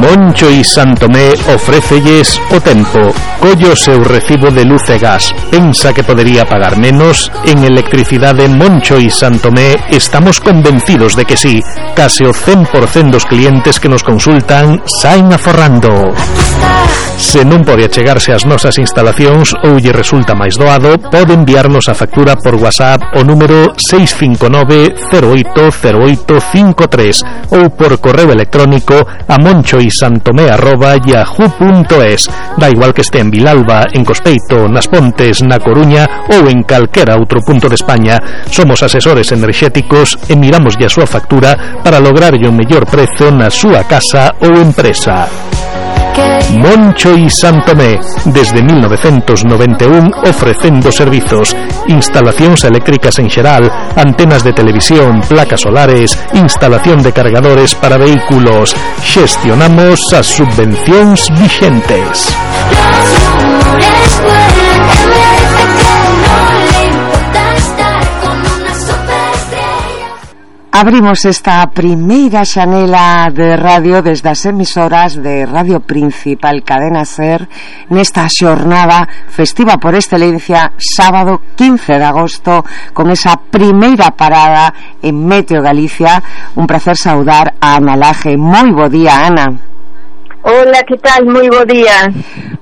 Moncho y Santomé ofrécelles o tempo. Collo seu recibo de luz e gas. Pensa que podería pagar menos? En Electricidade Moncho y Santomé estamos convencidos de que sí. Case o 100% dos clientes que nos consultan saen aforrando. Se non pode achegarse ás nosas instalacións ou lle resulta máis doado, pode enviarnos a factura por WhatsApp o número 659-080853 ou por correo electrónico a monchoisantomé@yahoo.es. Da igual que este en Vilalba, en Cospeito, nas Pontes, na Coruña ou en calquera outro punto de España. Somos asesores enerxéticos e miramos a súa factura para lograr o mellor prezo na súa casa ou empresa. Moncho y Santomé, desde 1991 ofrecendo servizos, instalacións eléctricas en xeral, antenas de televisión, placas solares, instalación de cargadores para vehículos. Xestionamos as subvencións vixentes. Abrimos esta primeira xanela de radio desde as emisoras de Radio Principal Cadena Ser nesta xornada festiva por excelencia, sábado 15 de agosto, con esa primeira parada en Meteo Galicia. Un placer saudar a Ana Laje. Moi bo día, Ana. Hola, que tal? Moi bo día.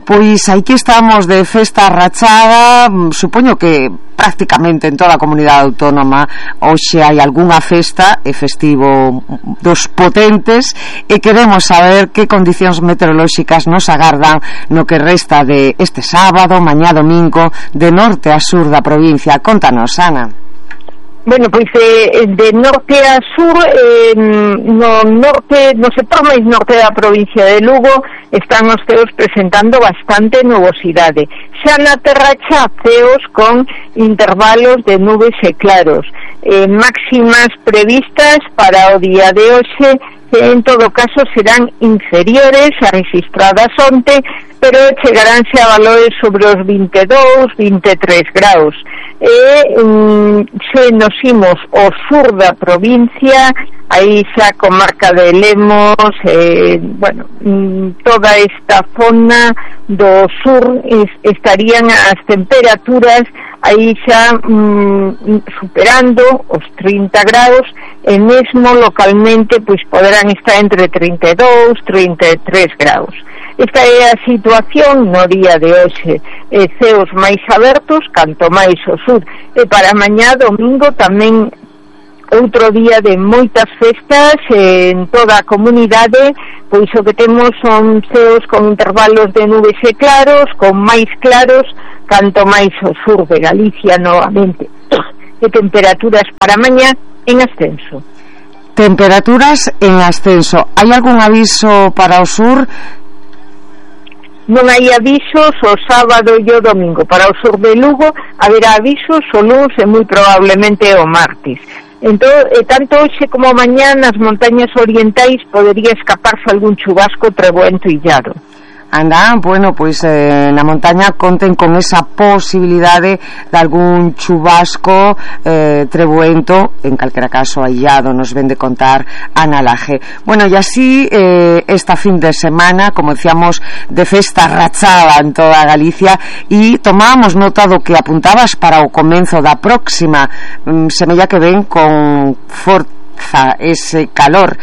Pois aquí estamos de festa rachada, supoño que prácticamente en toda a comunidade autónoma hoxe hai algunha festa e festivo dos potentes, e queremos saber que condicións meteorolóxicas nos agardan no que resta de este sábado, mañá domingo, de norte a sur da provincia. Contanos, Ana. Bueno, pois de norte a sur, no sector máis norte da provincia de Lugo están os ceos presentando bastante nubosidade. Xa na terra xa ceos con intervalos de nubes e claros. Máximas previstas para o día de hoxe, en todo caso serán inferiores a registradas onte, pero chegaránse a valores sobre os 22, 23 graus. Se nos imos ao sur da provincia, aí xa comarca de Lemos, toda esta zona do sur estarían as temperaturas aí xa superando os 30 graus, e mesmo localmente pois poderán estar entre 32, 33 graus. Esta é a situación no día de hoxe. Ceos máis abertos, canto máis ao sur. E para mañá domingo tamén outro día de moitas festas en toda a comunidade, pois o que temos son ceos con intervalos de nubes e claros, con máis claros, canto máis ao sur de Galicia novamente. E temperaturas para mañá en ascenso. Temperaturas en ascenso. Hai algún aviso para o sur? Non hai avisos o sábado e o domingo. Para o sur de Lugo haberá avisos o luns e moi probablemente o martes. Entón, tanto hoxe como mañá nas montañas orientais podería escaparse algún chubasco treboento illado. Anda, bueno, pois na montaña conten con esa posibilidade de algún chubasco treboento, en calquera caso aillado, nos ven de contar Ana Laje. Bueno, e así esta fin de semana, como decíamos, de festa rachada en toda Galicia, e tomábamos nota do que apuntabas para o comenzo da próxima. Semella que ven con forza ese calor.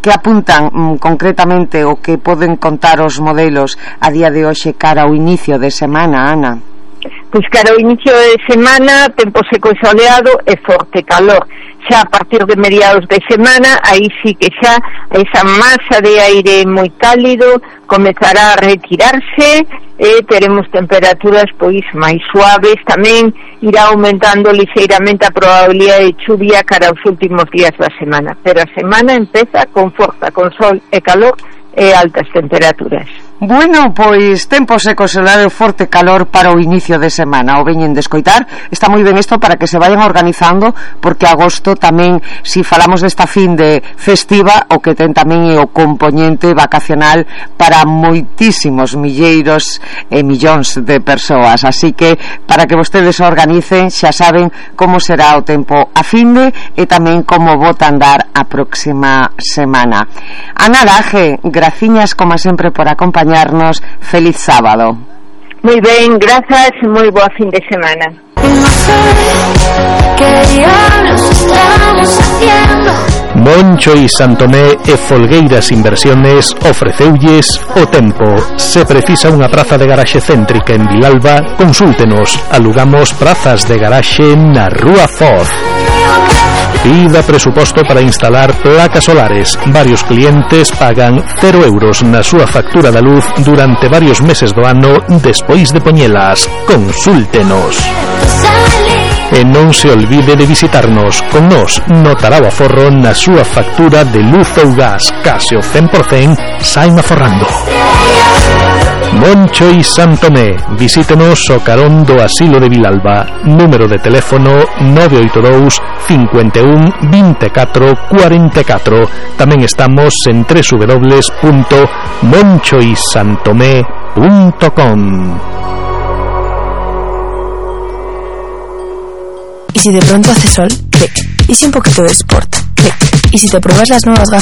Que apuntan concretamente o que poden contar os modelos a día de hoxe cara ao inicio de semana, Ana? Pois cara ao inicio de semana, tempo seco e soleado e forte calor. Xa a partir de mediados de semana, aí sí que xa esa masa de aire moi cálido comezará a retirarse e teremos temperaturas pois máis suaves. Tamén irá aumentando lixeiramente a probabilidade de chuvia cara aos últimos días da semana, pero a semana empeza con forza, con sol e calor e altas temperaturas. Bueno, pois tempo seco, solar e forte calor para o inicio de semana. O veñen de escoitar, está moi ben isto para que se vayan organizando, porque agosto tamén, si falamos desta fin de festiva, o que ten tamén é o componente vacacional para moitísimos milleiros e millóns de persoas. Así que, para que vostedes se organicen, xa saben como será o tempo a finde e tamén como bota andar a próxima semana. Ana Laje, graciñas como sempre por acompañar. Feliz sábado. Muy bien, gracias, muy boa fin de semana. Moncho y Santomé e Folgueiras Inversiones ofreceulles o tempo. Se precisa unha praza de garaxe céntrica en Vilalba, consúltenos. Alugamos prazas de garaxe na Rúa Foz. Pida presuposto para instalar placas solares. Varios clientes pagan 0 euros na súa factura da luz durante varios meses do ano despois de poñelas. Consúltenos. E non se olvide de visitarnos. Con nos notará o aforro na súa factura de luz ou gas. Case o 100% saen aforrando. Moncho y Santomé. Visítenos o carón do Asilo de Vilalba. Número de teléfono 982 51 24 44. Tamén estamos en www.monchoysantomé.com. ¿Y si de pronto hace sol? Clic. ¿Y si un poquito de sport? Clic. ¿Y si te pruebas las nuevas gafas